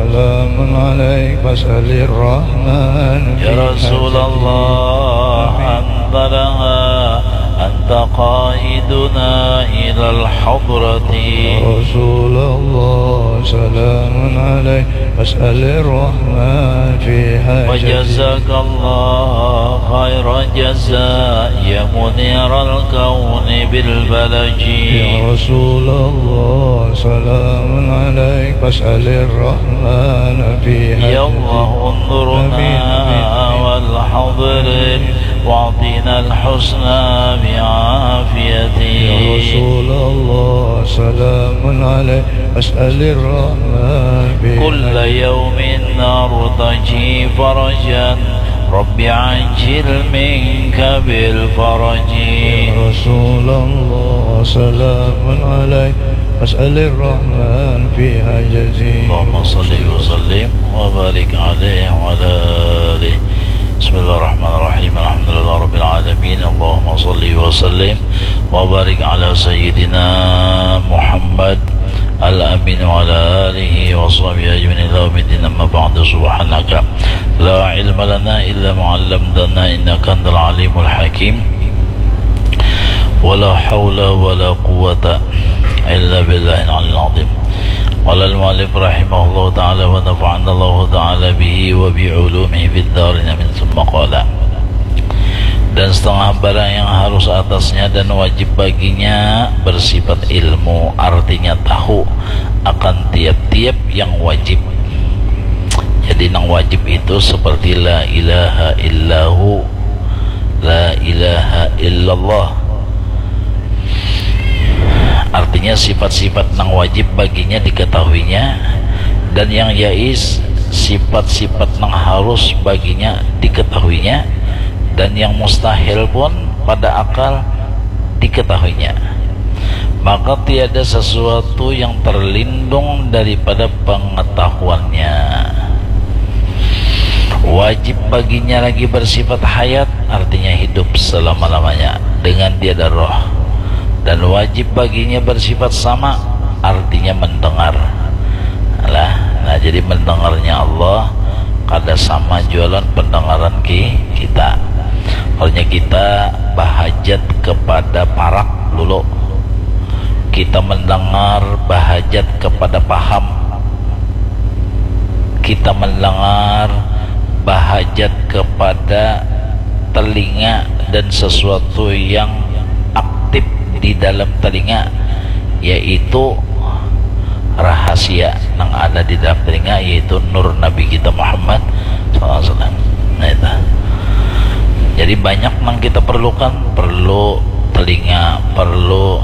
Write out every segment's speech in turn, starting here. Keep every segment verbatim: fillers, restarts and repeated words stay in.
سلام عليك فاسأل الرحمن يا في رسول حاجتي. الله، آمين. أنت لها، أنت قائدنا إلى الحضرة. يا رسول الله، سلام عليك فاسأل الرحمن في حاجتي. وجزاك الله خير الجزاء يا منير الكون بالبلج. يا رسول الله، سلام عليك فاسأل الرحمن في حاجتي. يا الله، انظرنا آمين، آمين. والحضر واعطنا الحسنى بعافيته. يا رسول الله، سلام عليك فاسأل الرحمن في كل حاجتي. يوم نرتجي فرجا رب عجل منك بالفرج. يا رسول الله، سلام عليك فاسأل الرحمن في حاجتي. اللهم صل وسلم وبارك عليه وعلى آله. بسم الله الرحمن الرحيم. الحمد لله رب العالمين. اللهم صل وسلم وبارك على سيدنا محمد الأمين وعلى آله وصحبه أجمعين إلى يوم الدين. أما بعد، سبحانك لا علم لنا إلا ما علمتنا إنك أنت العليم الحكيم. ولا حول ولا قوة إلا بالله العلي العظيم. قال المؤلف رحمه الله تعالى ونفعنا الله تعالى به وبعلومه في الدارين آمين. ثم قال. Dan setengah barang yang harus atasnya dan wajib baginya bersifat ilmu, artinya tahu akan tiap-tiap yang wajib. Jadi, nang wajib itu seperti la ilaha illahu, la ilaha illallah. Artinya, sifat-sifat nang wajib baginya diketahuinya, dan yang jais, sifat-sifat nang harus baginya diketahuinya, dan yang mustahil pun pada akal diketahuinya. Maka tiada sesuatu yang terlindung daripada pengetahuannya. Wajib baginya lagi bersifat hayat, artinya hidup selama-lamanya, dengan tiada roh. Dan wajib baginya bersifat sama, artinya mendengar. Lah, nah, jadi mendengarnya Allah kada sama jua lawan pendengaran ki-, kita. Artinya kita bahajat kepada parak dulu. Kita mendengar bahajat kepada paham. Kita mendengar bahajat kepada telinga dan sesuatu yang aktif di dalam telinga, yaitu rahasia nang ada di dalam telinga, yaitu nur Nabi kita Muhammad sallallahu alaihi wasallam. Nah, itu. Jadi, banyak nang kita perlukan, perlu telinga, perlu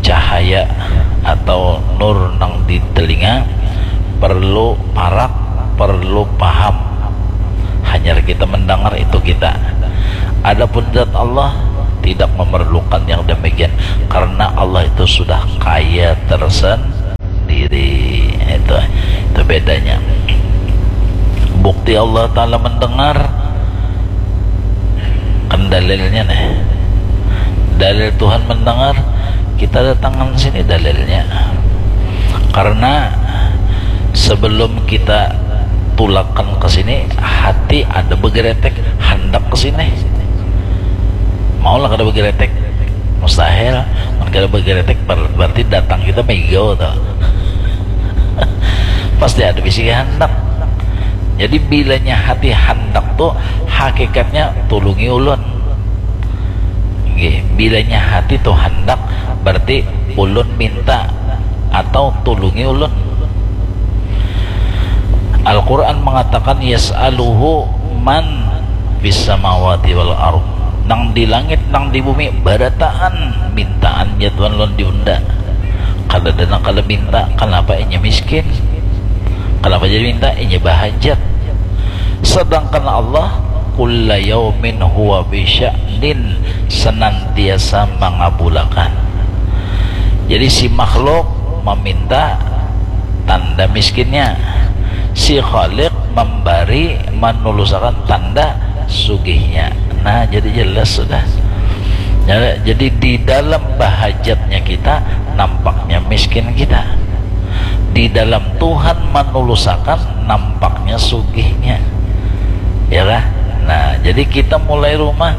cahaya atau nur nang di telinga, perlu parak, perlu paham. Hanyar kita mendengar itu kita. Adapun zat Allah tidak memerlukan yang demikian, karena Allah itu sudah kaya tersendiri. Itu, itu bedanya. Bukti Allah Ta'ala mendengar, kan dalilnya nih. Dalil Tuhan mendengar, kita datangkan sini dalilnya. Karena sebelum kita tulakan ke sini, hati ada begeretek, handak ke sini. Maulah kada begeretek? Mustahil. Mun kada begeretek, ber-, berarti datang kita migau tuh. Pasti ada bisi handak. Jadi, bilanya hati handak tuh, hakikatnya tulungi ulun. Nggih, bilanya hati tuh handak, berarti ulun minta atau tulungi ulun. Al-Quran mengatakan, "Yas'aluhu man fis samawati wal ard." Nang di langit, nang di bumi, barataan mintaan jadwal lawan diunda. Kada ada nang kada minta, kenapa inya miskin? Kenapa jadi minta? Inya bahajat. Sedangkan Allah, kulla yaumin huwa bisya'nin, senantiasa mangabulakan. Jadi, si makhluk meminta, tanda miskinnya. Si Khalik memberi, menulusakan, tanda sugihnya. Nah, jadi jelas sudah. Ya, jadi di dalam bahajatnya kita, nampaknya miskin kita. Di dalam Tuhan manulusakan, nampaknya sugihnya. Ya lah. Nah, jadi kita mulai rumah,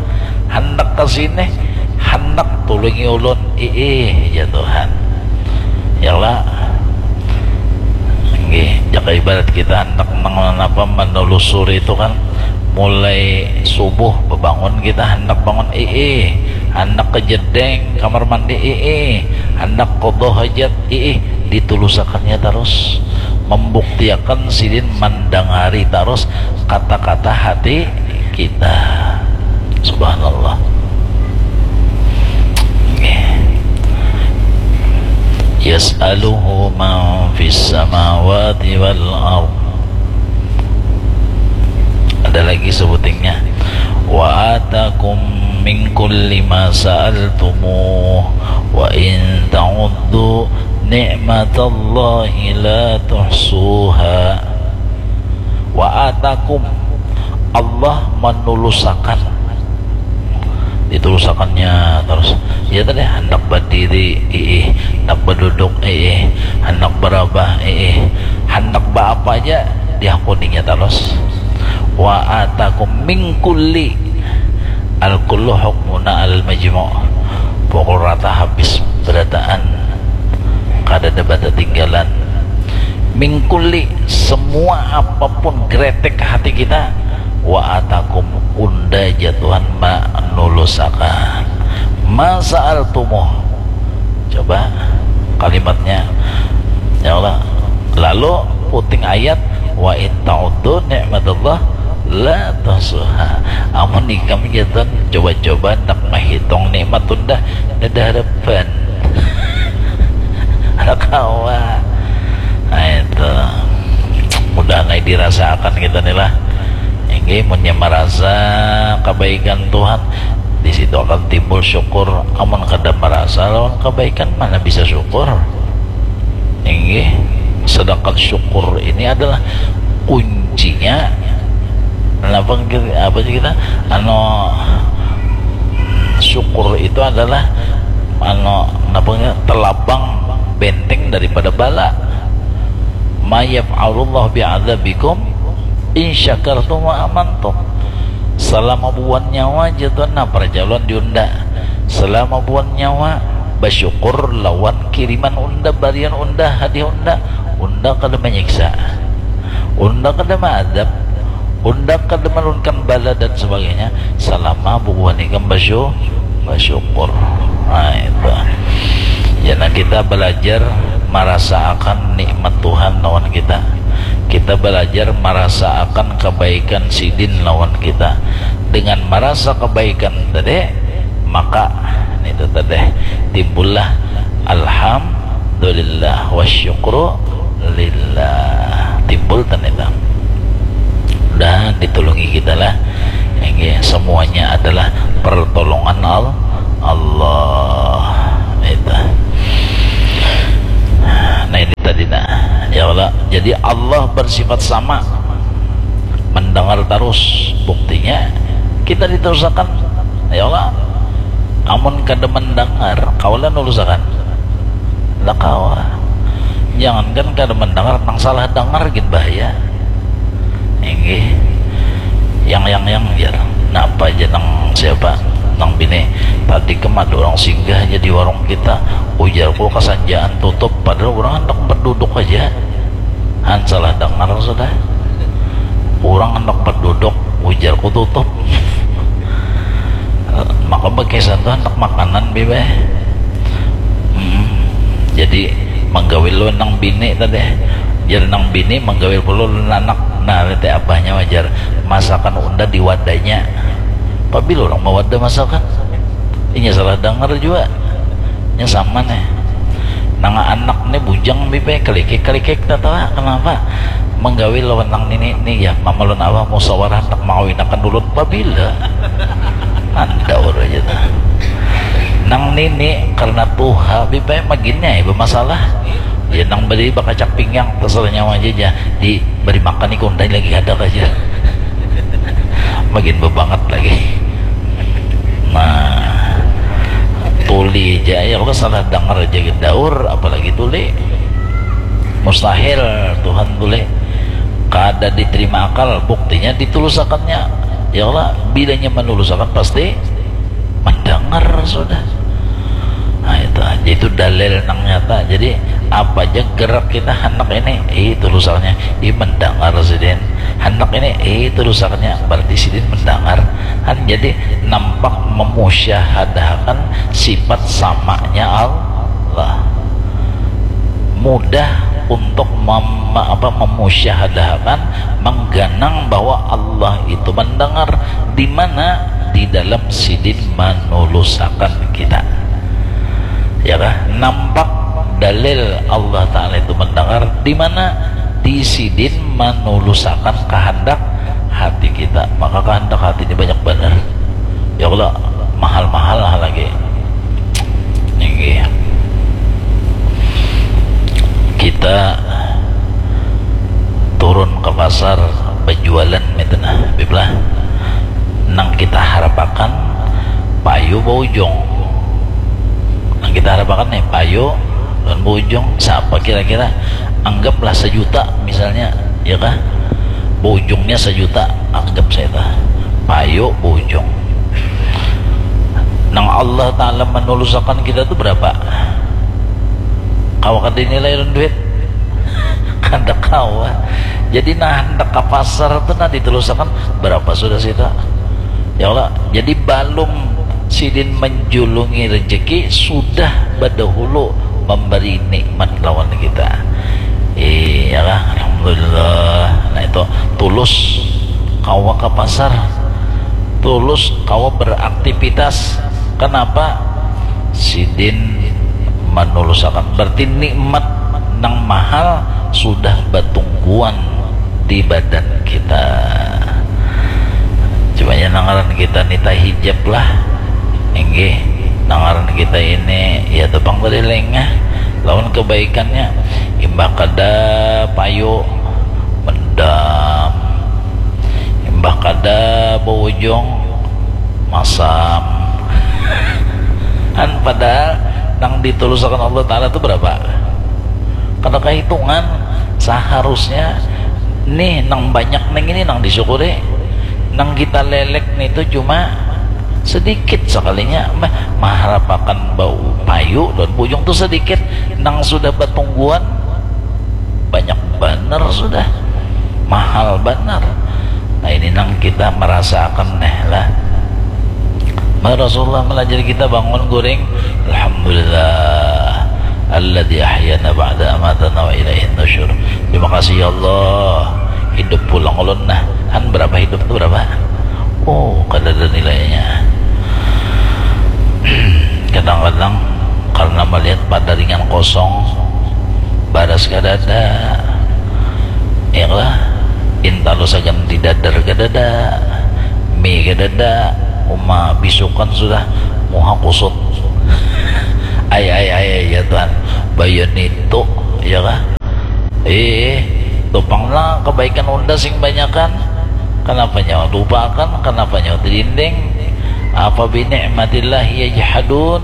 handak ke sini, handak tulungi ulun, iih, ya Tuhan. Ya lah. Nggih, jaka ibarat kita handak nang apa, menelusuri itu kan, mulai subuh bebangun kita handak bangun, iih, handak ke jedeng kamar mandi, iih, handak kodoh hajat, iih, ditulusakannya terus, membuktiakan sidin mandangari terus kata-kata hati kita. Subhanallah. Yas'aluhu man fis samawati wal ard. Ada lagi sebutingnya. Wa atakum min kulli ma sa'altumuh wa in ta'uddu ni'matallahi la tuhsuha. Wa atakum, Allah manulusakan, ditulusakannya terus. Ya tadi, handak badiri, iih, handak baduduk, iih, handak barabah, iih, handak baapa aja dihakuninya terus. Wa atakum min kulli, al kullu hukmuna al majmu', pukul rata habis berataan, kada ada batatinggalan. Min kulli, semua apapun gretek hati kita, wa atakum, unda ja Tuhan manulusakan. Ma sa'altumuh. Coba kalimatnya, ya Allah. Lalu puting ayat, wa in ta'uddu ni'matallah la tuhsuha. Amun ikam ja Tuhan coba-coba nak mahitung nikmat unda, kada harapan. Ada kawa. Nah, itu. Mudahan ai dirasaakan kita nih lah. Inggih, munnya marasa kebaikan Tuhan, di situ akan timbul syukur. Amun kada marasa lawan kebaikan, mana bisa syukur? Inggih. Sedangkan syukur ini adalah kuncinya. Kenapa kita, apa sih kita? Anu, syukur itu adalah, anu, kenapa kita, telabang benteng daripada bala. Ma yaf'alullah bi'adzabikum in syakartum wa amantum. Selama buan nyawa ja Tuhan, nah, perjalan diunda. Selama buan nyawa, basyukur lawan kiriman unda, barian unda, hadiah unda. Unda kada manyiksa, unda kada maadab, unda kada menurunkan bala dan sebagainya, selama bubuhan ikam basyu-, basyukur. Nah, itu. Jana kita belajar marasaakan nikmat Tuhan lawan kita. Kita belajar marasaakan kebaikan sidin lawan kita. Dengan marasa kebaikan tadi, maka itu tadi timbullah alhamdulillah wa syukru lillah. Timbul tadi itu. Mudahan ditulungi kita lah. Inggih, semuanya adalah pertolongan Al-, Allah. Itu. Nah, ini tadi, nah. Ya Allah. Jadi Allah bersifat sama. Mendengar terus. Buktinya kita diterusakan. Ya Allah. Amun kada mendengar, kawa lah nulusakan? Lah kawa. Jangankan kada mendengar, nang salah dengar gin bahaya. Inggih. Yang, yang, yang, jar. Napa aja nang siapa? Nang bini. Tadi kam ada orang singgah aja di warung kita. Ujarku kasanjaan tutup, padahal orang handak berduduk aja. Han salah dengar sudah. Orang handak berduduk, ujarku tutup. Maka bakisah tu handak makanan, Bibi. Hmm. Jadi, manggawil ulun nang bini tadi. Jar nang bini, manggawil pulo ulun anak. Nah, lihat abahnya wajar. Masakan unda di wadahnya. Pabila orang mawada masakan? Inya salah dengar jua. Nya sama nih. Nang anak nih bujang, Bibi, kalikik-kalikik, tatawa. Kenapa? Manggawil lawan nang nini nih, ya, mama lawan abah musawarah handak mangawinakan ulun. Pabila? Mandaur aja tuh. Nang nini karena tuha, Bibi, maginnya ya bermasalah. Ya, nang beli bakacak pinggang, terserah nyawa aja, aja. Di beri makan ikam unda lagi kada aja. Magin bebangat lagi. Nah, tuli aja ya, aku salah dengar aja daur, apalagi tuli. Mustahil Tuhan boleh kada diterima akal, buktinya ditulusakannya. Ya Allah, bilanya menulusakan pasti mendengar sudah. Nah, itu aja, itu dalil nang nyata. Jadi apa aja gerak kita, hendak ini, ih, tulusakannya, ih, mendengar sidin. Hendak ini, ih, tulusakannya, berarti sidin mendengar. Kan jadi nampak memusyahadahakan sifat samanya Allah. Mudah untuk mem, apa, memusyahadahakan, mengganang bahwa Allah itu mendengar. Di mana? Di dalam sidin manulusakan kita. Ya kah? Nampak dalil Allah Ta'ala itu mendengar di mana? Di sidin manulusakan kehendak hati kita. Maka kehendak hati ini banyak benar. Ya Allah, mahal-mahal lah lagi. Nggih. Kita turun ke pasar berjualan, gitu nah, Bib lah. Nang kita harapakan payu baujung. Nang kita harapakan nih, payu dan baujung, siapa kira-kira? Anggaplah sejuta misalnya, ya kah? Baujungnya sejuta, anggap saya tah. Payu baujung. Nang Allah Ta'ala menulusakan kita tuh berapa? Kawa kada dinilai lawan duit? Kada kawa. Jadi nah, hendak ke pasar tuh nah ditulusakan, berapa sudah sita? Ya Allah, jadi balum sidin menjulungi rezeki, sudah badahulu memberi nikmat lawan kita. Iya lah, alhamdulillah. Nah, itu tulus kawa ke pasar, tulus kawa beraktivitas. Kenapa? Sidin manulusakan. Berarti nikmat nang mahal sudah batungguan di badan kita. Cumanya nang ngaran kita nita hijab lah. Inggih, nang ngaran kita ini, ya, tepang tadi lengah lawan kebaikannya. Imbah kada payu, mendam. Imbah kada baujung, masam. Han, padahal nang ditulusakan Allah Ta'ala tu berapa? Kada kahitungan. Seharusnya nih, nang banyak nih ini nang disyukuri. Nang kita lelek nih tu cuma sedikit sekalinya. Mah, maharapakan bau payu dan bujung tu sedikit. Nang sudah batungguan, banyak banar sudah. Mahal banar. Nah, ini nang kita merasakan nih lah. Maka Rasulullah melajari kita bangun guring, alhamdulillah, alladzi ahyana ba'da amatana wa ilaihin nusyur. Terima kasih ya Allah, hidup pulang ulun nah. Han, berapa hidup tu, berapa? Oh, kada ada nilainya. Kadang-kadang karena melihat padaringan kosong, baras kada ada, ya lah, intalu sagan didadar kada ada, mie kada ada, uma bisukan sudah, muha kusut. Ai, ai, ai, ai, ya Tuhan, bayan itu, ya kah? Eh, tupang lah kebaikan unda sing banyakan. Kenapa nyawa lupakan? Kenapa nyawa dinding? Apa bi ni'matillahi yajhadun?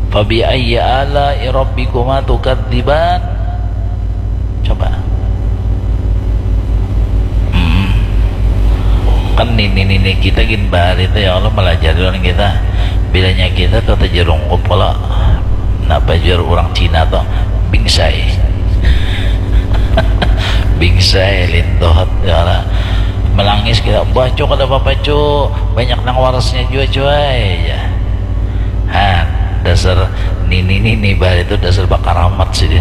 Fa bi ayyi ala'i rabbikuma tukadziban? Coba. Hmm. Kan nini-nini kita gin bahari tu, ya Allah, melajari orang kita. Bilanya kita tu tajarungkup kalau napa jar orang Cina tu, bingsai. Bingsai, lintohot, ya Allah. Melangis kita, bah, Cuk, ada apa-apa, Cuk? Banyak nang warasnya jua, cuy, ya. Ha, dasar nini-nini bahari tu dasar bakaramat sidin.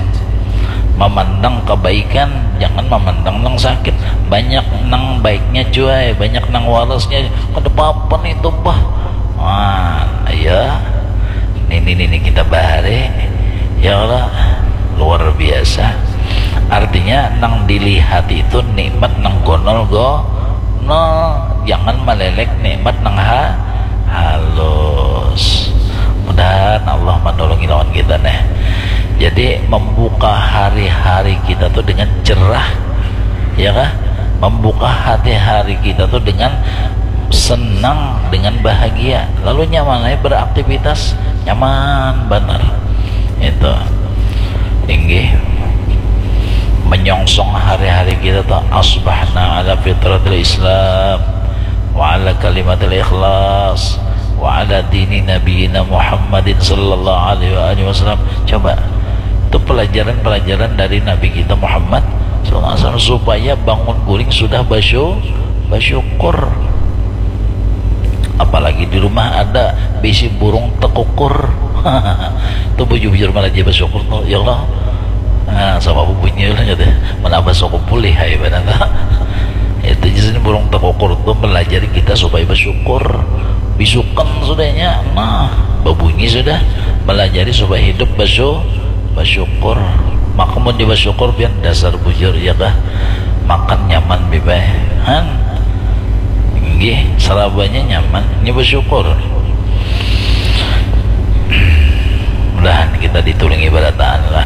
Memandang kebaikan, jangan memandang nang sakit. Banyak nang baiknya, cuy, banyak nang warasnya. Kada apa-apa nih tu, bah. Wah, iya. Nini-nini kita bahari, ya Allah, luar biasa. Artinya, nang dilihat itu nikmat nang gonol-gonol. Jangan melelek nikmat nang ha-, halus. Mudahan Allah menolongi lawan kita nih. Jadi, membuka hari-hari kita tuh dengan cerah, ya kah? Membuka hati-hari kita tuh dengan senang, dengan bahagia. Lalu nyaman aja beraktivitas, nyaman banar. Itu. Inggih. Menyongsong hari-hari kita tuh, asbahna ala fitratil Islam wa ala kalimatil ikhlas wa ala dini nabiyina Muhammadin sallallahu alaihi wa alihi wasallam. Coba, itu pelajaran-pelajaran dari Nabi kita Muhammad sallallahu alaihi wasallam, supaya bangun guring sudah basyu-, basyukur. Apalagi di rumah ada bisi burung tekukur. Itu bujur-bujur malah dia basyukur tuh, ya Allah. Nah, sama bunyi lah gitu. Mana basyukur pulih, hai, benar tak? Itu jadi burung tekukur tuh melajari kita supaya basyukur. Bisukan sudahnya, nah, babunyi sudah, melajari supaya hidup basyu-, basyukur. Maka mun dia basyukur, pian dasar bujur, ya kah? Makan nyaman, bibai. Han? Nggih, sarabanya nyaman. Ini basyukur. Mudahan kita ditulungi barataan lah.